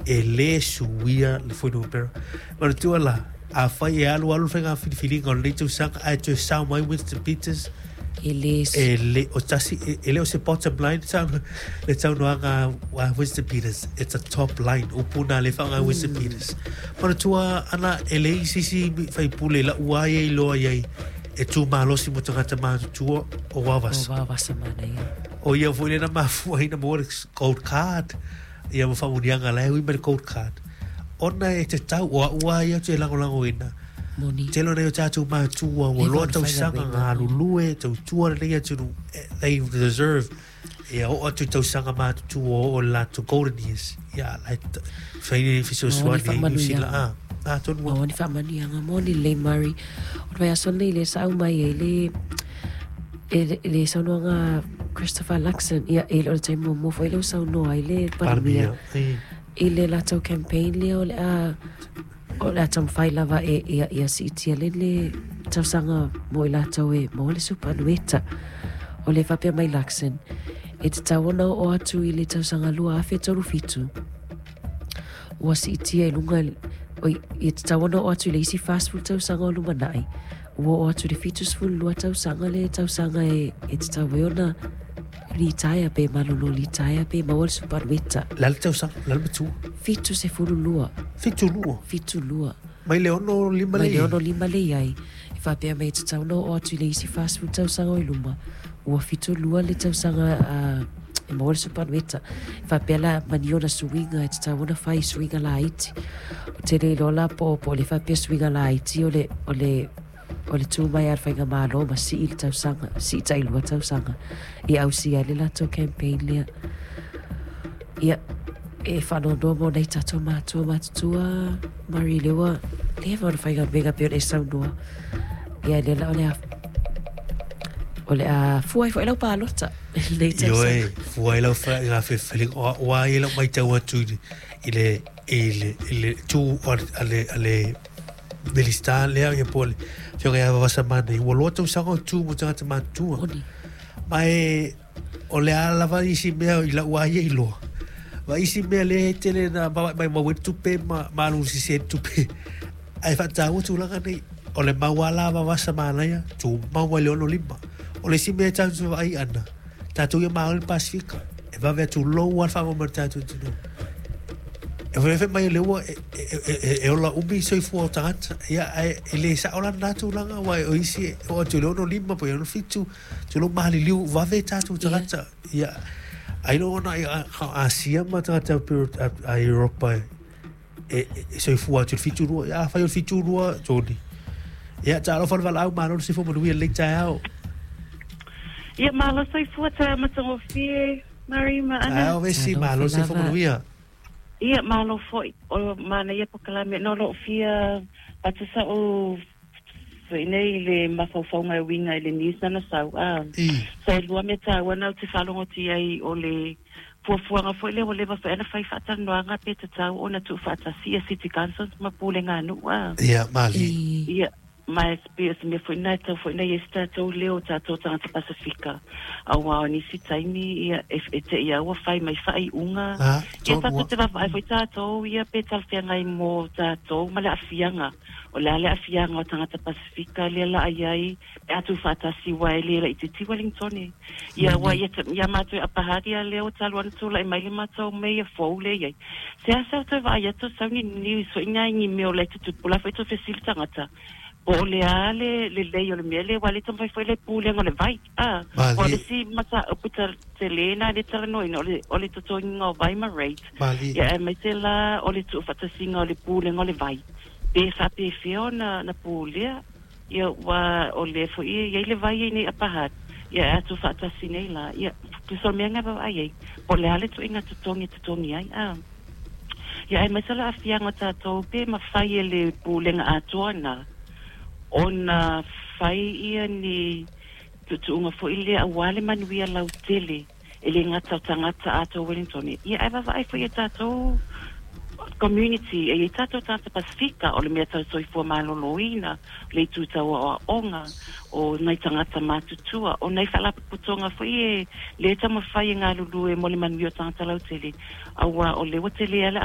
E lē suia le fuainumera. Manatua la, afai e alualu le faiga filifiliga o lenei tausaga ae toe sao mai Winston Peters, E lē e le o tasi, e le o se bottom line le saunoaga a Winston Peters, it's a top line. Upu na le faaaoga e Winston Peters. Manatua ana e leai se isi faipule i la'u lava ia iloa i ai e tu malosi mo tagata matutua o Vavasa. O Vavasa manaia. O ia foi lea na mafua ai na maua le gold card ia ma faamanuiaga la e ui mai le gold card. Ona e tatau, o a'u lava ia ou te lagolagoina, Moni. tele o nai o tatou matua ua Leva loa ona tausaga faigaluega. galulue, tautua lenei atunuu, they deserve ia oo atu i tausaga matutua oo i le latou golden years. Ia la e fai ni Maua ni fesoasoani ai New Zealand. faamanuiaga. Ah, atonu Maua ni faamanuiaga. Moni lelei Murray. O le vaiaso lenei lea sa aumai ai le e le saunoaga a Christopher Luxon, ia e le o le taimi muamua foi lea ua saunoa ai le Palemia Palemia i le latou campaign lea o le a taumafai lava e ia ia siitia le le tausaga mo i latou e maua le supanueta. O le faapea mai Luxon, e tatau ona oo atu i le tausaga 2037, ua siitia i luga, oi, e tatau ona oo atu i le isi 40 tausaga o lumanai, ua oo atu i le 72 tausaga le tausaga e tatau ai ona litaea pe malolo litaea pe maua le supanueta. Le a le tausaga, le a le matua? 72. 72? 72. Mai le 65 Mai le le 65 le i ai. E faapea mai e tatau ona oo atu i le isi 40 tausaga o i luma, ua 72 le tausaga e maua le supanueta. E faapea la manino ona suiga e tatau ona fai suiga laiti. Ou te le iloa la po o le faapea suiga laiti o le, o le, o le tu mai a le faigamalo ma sii le tausaga, sii tailua tausaga e ausia ai le latou campaign lea. Ia, e faanoanoa mo nai tatou matua matutua, Murray, lea ua leva ona faigaluega pei ona e saunoa. Ia, lea la o le a fua ai foi lau palota i lenei tausaga. Ioe, fua ai lau faiga filifiliga. O au lava ia i lau matau atu i le, i le, i le tu a le Minisita lea ia po o le Afioga ia Vavasamana, ua loa tausaga o tu mo tagata matutua. Moni. Ma e o le a lava isi mea i lau lava ia iloa. Ma isi mea lea e tele na mai mau ai le tupe ma alu sese ai le tupe. Ae faataua tulaga nei. O le mau lava la a Vavasamanaia, tumau ai le 65. O le isi mea e tatou te vaai ana, tatou ia Malo i le Pasefika, e vave atu lou lava le faamoemoe o le tatou atunuu. E fai mai o lea ua e ola umi soifua o tagata. Ia, ae e le sao la lena tulaga, aua o isi e oo atu i le 65 po o le 67, tulou maliliu vave tatou tagata. Ia, ailoga ona Asia ma tagata a Europa e soifua atu i le 72. Ia, afai o le 72, Tony. Ia, talofa le valaau, malo le soifua manuia i lenei taeao. Ia, malo soifua taeao matagofie, Murray ma Ana. Taeao vesi, malo le soifua manuia. Ia, malo foi. O manaia polokalame. No lou fia avatu sa'u foi nei le mafaufauga e uiga i le news na na sau. A. Sa e lua mea taua na ou te faalogoti ai o le fuafuaga foi lea ua leva foi ona fai faatalanoaga pe tatau ona tuufaatasi ia City Councils ma Pulega a nuu. A. Ia, malie. Ia, ma e pei o se mea foi lena e tatau foi ona i ai se tatou leo o tatou tagata Pasefika, auā o nisi taimi, ia, e te i a ua fai mai faaiuga. Ia, tatou te vaavaai foi tatou, ia, pe talafeagai mo tatou ma le aafiaga. O le a le aafiaga o tagata Pasefika lea la i ai pe a tuufaatasi aua e le laitiiti Wellington. Ia, aua ia, ia matou e Upper Hutt, ia lea ua talu ona tulai mai le matou meia fou lea i ai. Seasea ou toe vaai atu sau ni news foi nai ni mea o la e tutupu la foi toe fesili tagata po o le a le lelei o le mea lea aua le taumafai foi le pulega o le vai a o le isi mataupu tele na le talanoaina o le totogiga o vai ma rate ia aemaise la o le tuufaatasiga o le pulega o le vai pe faapefea ona na pulea ia ua o le foi e i ai le vai ai nei Upper Hutt ia e a tuufaatasi nei la ia tusa o le mea na vaavaai ai po o le a le tuiga totogi e totogi ai a ia aemaise le aafiaga o tatou pe mafai e le pulega atoa na ona fai ia ni tuutuuga foi lea auā le manuia lautele e le gata o tagata atoa Wellington ia ae vaavaai foi e tatou community e i ai tatou tagata Pasefika o le mea tau soifua maloloina le itu tau aoaoga o nai tagata matutua o nai faalapotopotoga foi e lē taumafai e galulue mo le manuia o tagata lautele auā o lea ua tele a le